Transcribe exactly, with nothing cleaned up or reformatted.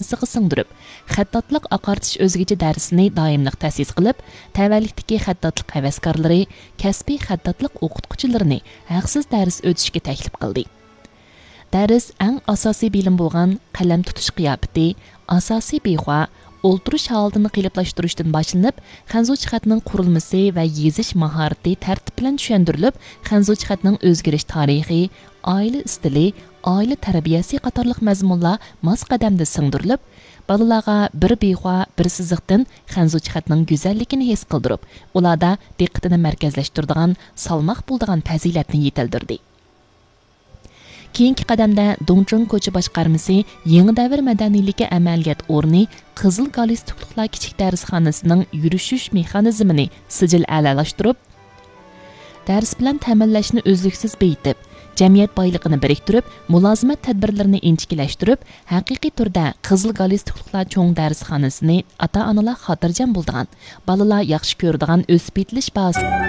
سىغا سىڭدۈرۈپ، خەتتاتلىق ئاقارتىش ئۆزگىچە دەرسىنى دائىملىق تەسىس قىلىپ، تەۋەلىكتىكى خەتتاتلىق ھەۋەسكارلىرى، كەسپىي خەتتاتلىق ئوقۇتقۇچىلىرىنى ھەقسىز دەرس ئۆتۈشكە تەكلىپ قىلدى. دەرس ئەڭ ئاساسىي بىلىم بولغان قەلەم تۇتۇش قىياپىتى، ئاساسىي بىخۇا، ئولتۇرۇش ھالىتىنى قېلىپلاشتۇرۇشتىن باشلىنىپ، خەنزۇچە خەتنىڭ قۇرۇلمىسى ۋە يېزىش ماھارىتى تەرتىپ بىلەن چۈشەندۈرۈلۈپ، خەنزۇچە خەتنىڭ ئۆزگىرىش تارىخى، ئائىلە ئىستىلى، ئائىلە تەربىيەسى قاتارلىق مەزمۇنلار ماس قەدەمدە سىڭدۈرۈلۈپ، بالىلارغا بىر بىخۇا، بىر سىزىقتىن خەنزۇچە خەتنىڭ گۈزەللىكىنى ھېس قىلدۇرۇپ، ئۇلاردا دىققىتىنى مەركەزلەشتۈرىدىغان، سالماق بولىدىغان پەزىلەتنى يېتىلدۈردى. كېيىنكى قەدەمدە دۇڭچۇڭ كوچا باشقارمىسى يېڭى دەۋر مەدەنىيلىكى ئەمەلىيەت ئورنى قىزىل گالىستۇكلۇقلار كىچىك دەرسخانىسىنىڭ يۈرۈشۈش مېخانىزمىنى سىجىل ئەلالاشتۇرۇپ، دەرس بىلەن تەمىنلەشنى ئۈزلۈكسىز بېيىتىپ، جەمئىيەت بايلىقىنى بىرىكتۈرۈپ، مۇلازىمەت تەدبىرلىرىنى ئىنچىكىلەشتۈرۈپ، ھەقىقىي تۈردە قىزىل گالىستۇكلۇقلار چوڭ دەرسخانىسىنى ئاتا-ئانىلار خاتىرجەم بولىدىغان، بالىلار ياخشى كۆرىدىغان ئۆسۈپ يېتىلىش بازىسى